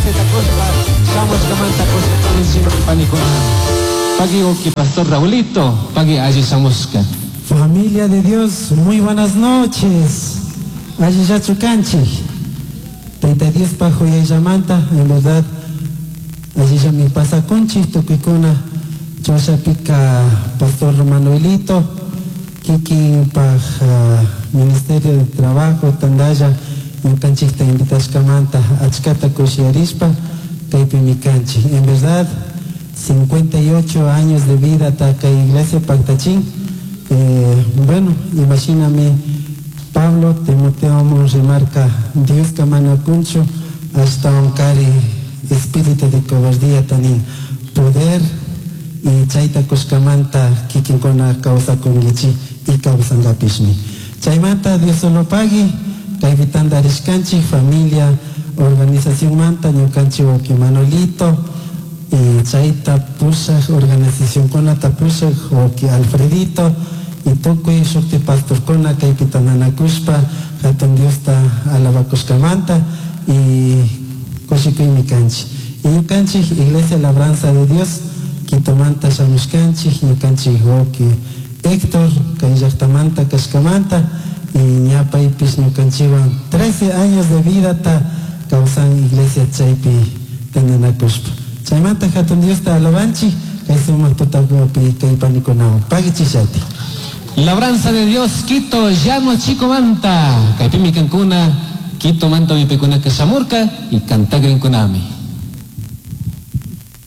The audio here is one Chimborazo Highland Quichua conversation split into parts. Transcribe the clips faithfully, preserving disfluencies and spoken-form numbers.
Chance takushpa shamushkamanta kushikunchik panikuna. Pagui uki Pastor Raulito, pagui alli shamushka. Familia de Dios, muy buenas noches. Allillachu kanchik. Tayta Diospa huyayllamanta, en verdad, allillami pasakunchik tukuykuna. Chawshapika Pastor Manuelito, kikinpaj uh, Ministerio de Trabajo, tandalla, ñukanchikta invitashkamanta achkata kushiyarishpa kaypimi kanchik. En verdad, cincuenta y ocho años de vida kay iglesia paktachin. Eh, bueno, imagíname Pablo Timoteo remarca Dios mana kunchu ashtawankari espíritu de cobardía tanin poder y chayta kushkamanta kikinkuna kawsakunkichik y kawsankapishmi. Chaymanta Dios solo pagui kaypi tantarishkanchik familia organización manta ñukanchik wawki Manuelito y chayta pushak organizacionkunata pushak wawki Alfredito y tukuy shukti pastorkuna kaypi tantanakushpa hatun Diosta alabakushkamanta y kushikuymi kanchik. Y ñukanchik Iglesia Labranza de Dios Quitomanta shamushkanchik ñukanchik wawki Héctor kay llaqtamanta kashkamanta y ña paypish ñukanchikwan trece años de vidata kawsan iglesia chaypi tantanakushpa. Chaymanta hatun Diosta alabanchik kay sumaq tutakupi kay panikunawan. Pagichishati. Labranza de Dios, Quito, Llano Chico Manta. Kaypimi kankuna, Quito manta mipikunaka shamurka y kantagrinkunami.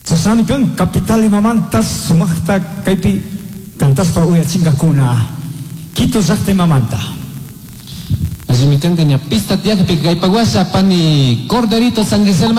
Chashnami kan capital imamanta sumaqta kaypi kantashpa uyachinkakuna Quito llaqta imamanta. Allimi kanka ña pista tiyakpi kaypa washa pani Corderito San Gisel.